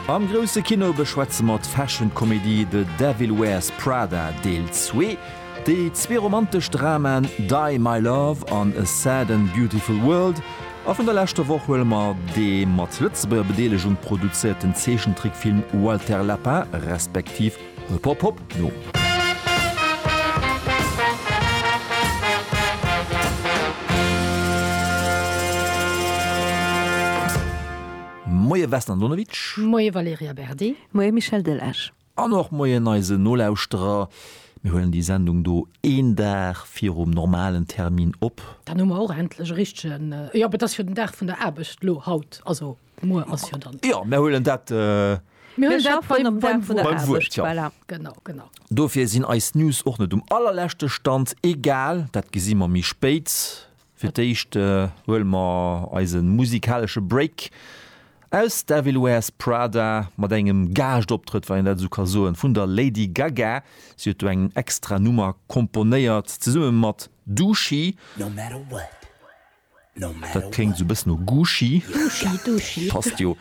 Am grousse Kino beschwätze mer d'Fashion-Komedie The Devil Wears Prada Deel 2, déi zwee romantesch Dramaen Die My Love an A Sad and Beautiful World a vun der leschter Woch huele mer dee mat Lëtzebuerger Bedeelegung produzéierten Zeechentrickfilm Walter Lapin respektiv Hop Hop Hop no. Moie Vesna Andonovic. Moie Valerija Berdi. Moie Michel Delage. An och Moien eisen Nolauschterer. Mir huelen déi Sendung do een Dag virum normalen Termin op. Dann hu mer och endlech e richtegen, jo, et ass jo den Dag vun der Aarbecht lo haut, also muer ass jo dann. Jo, mir huelen dat. Mir huelen dat beim, beim Wuert. Beim Wuert, jo. Voilà. Genau, genau. Dofir sinn eis News och net um allerleschte Stand. Egal, dat gesi mer méi spéit. Fir d'éischt huele mer eise musikalesche Break aus Devil Wears Prada mat engem Gaaschtoptrëtt, wann een dat esou ka soen, vun der Lady Gaga. Si huet do eng extra Nummer komponéiert zesumme mat Dooshi. Dat kléngt esou e bëssen no Gucci. Passt jo.